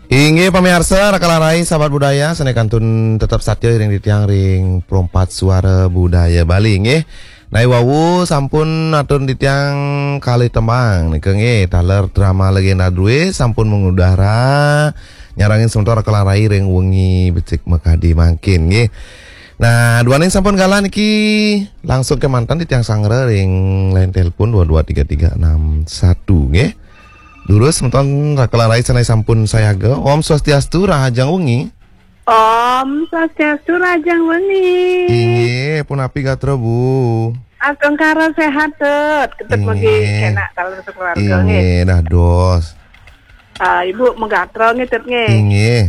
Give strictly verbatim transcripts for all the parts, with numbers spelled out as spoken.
Inggih pamiarsa, Raka lan Rai, sahabat budaya, sané kantun tetep satia ring titiang ring Perempat Suara Budaya Bali, nggih. Nah, wau sampun atur titiang kalih tembang nika, nggih, taler drama Legenda Drué sampun mengudara nyarengin semeton Raka lan Rai ring wengi becik makadi mangkin, nggih. Nah, duaning sampun galah niki, langsung kémanten titiang sanggra ring line telepon dua dua tiga tiga enam satu, nggih. Durus semeton Raka lan Rai sané sampun sayaga. Om Swastiastu, rahajeng wengi. Om Swastiastu, rahajeng wengi. Inggih, punapi gatra, Bu? Astungkara séhat, Tut. Ketut mugi Inggih. Kénak taler sakeluarga, nggih. Inggih, dados. Ah, Ibu magatra, nggih, Tut, nggih. Inggih.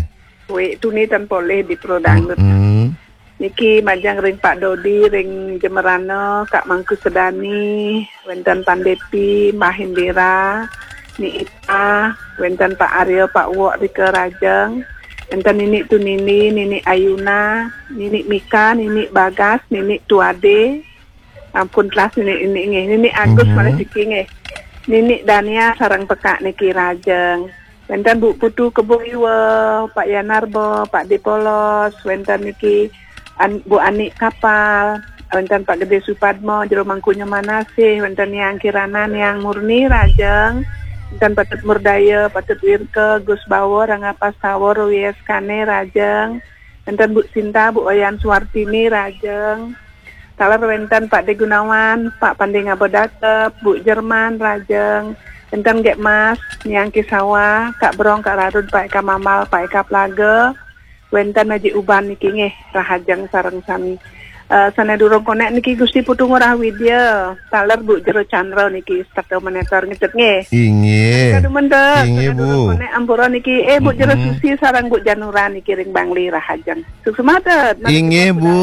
Wih, tuni tan polih di Pro Dangdut. Mm-mm. Niki majeng ring Pak Dodi, ring Jemerana, Kak Mangku Sedani, wénten Pan Depi, Mbah Indira, Ni Ita, wénten Pak Arya, Pak Wok Rika Rajeng, wénten Nini Tunini, Nini Ayuna, Nini Mika, Nini Bagas, Nini Tuade, ampun telas Nini, Nini nggih, Nini Agus Mhm. malih siki nggih. Nini Dania sareng pekak niki Rajeng. Wénten Bu Putu Kebo Iwa, Pak Yanarba, Pak Depolos, wénten niki An-, Bu Ani Kapal, wénten Pak Gede Supadmo, Jero Mangkunya Manasih, wénten Niang Kirana, Niang Murni Rajeng, wénten Patut Murdaya, Patut Wirka, Gus Bawa, Rangga Pastawa, Rwi Eskane Rajeng, wénten Bu Sinta, Bu Wayan Suwartini Rajeng, taler wénten Pak De Gunawan, Pak Pande Ngaba Datep, Bu Jerman Rajeng, wénten Gek Mas, Niang Kisawa, Kak Brong, Kak Rarud, Pak Eka Mamal, Pak Eka Plaga, wénten Haji Uban niki nggih, rahajeng sareng sami. Eh, sané durung konek niki Gusti Putu Ngurah Widya, taler Bu Jero Chandra niki, setata monitor ngetut nggih. Inggih. Kadumen, Tut. Inggih, sané durung Bu. Konek ampura niki, eh, Bu Jero Mm-mm. Susi sareng Bu Janura niki ring Bangli, rahajeng. Suksma, Tut. Mari Inggih, kita Bu.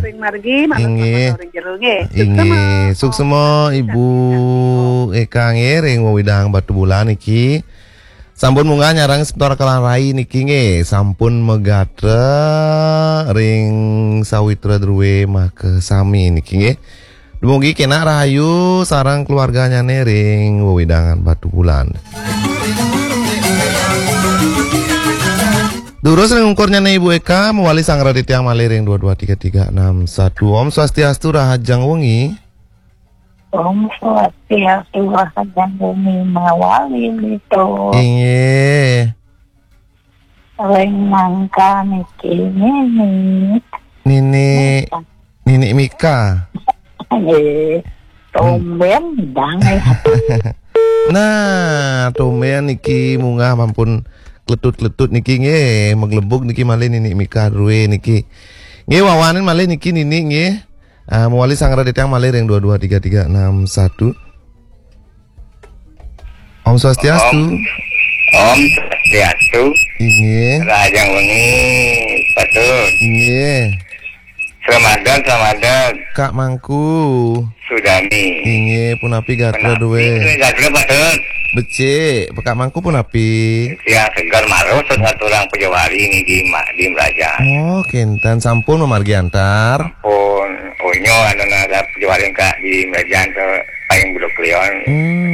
Ring margi, malam Inggih. Selamat ring jero nggih. Suksma. Inggih, suksma Ibu Eka nggih ring wewidang Batubulan niki. Sampun munggah nyarengin semeton Raka lan Rai niki nggih, sampun magatra ring Sawitra Drué makasami niki nggih. Dumugi kénak rahayu sareng keluarganyané ring wewidangan Batubulan. Durus ring ungkurnyané Ibu Eka, mawali sanggra titiang malih ring dua dua tiga tiga enam satu. Om Swastiastu, rahajeng wengi. Om Swastiastu, rahajeng wengi mawali, Tut. Inggih. Ring mangka niki Nini. Nini, Mika. Nini Mika. Nggih. Hmm. Tumbén, Dang, eh. Nah, tumbén niki munggah mampun kletut-kletut niki nggih, maglebug niki malih Nini Mika Drué niki. Nggih, wawanin malih niki Nini nggih. Ah, mawali sanggra titiang malih ring dua dua tiga tiga enam satu. Om Swastiastu. Om, Om Swastiastu. Inggih. Rahajeng wengi, Patut. Inggih. Selamat, selamat. Kak Mangku. Sudani. Inggih, punapi gatra Punapi, Drué? Gatra, Patut. Becik, Kak Mangku punapi? Ya, seger marus, ngaturang pejawari niki di Ma-, di Merajan. Oh, kénten sampun mamargi antar. Pun, unyu anu nara pejawari ka di Merajan to paling Beduk Leon. Hmm,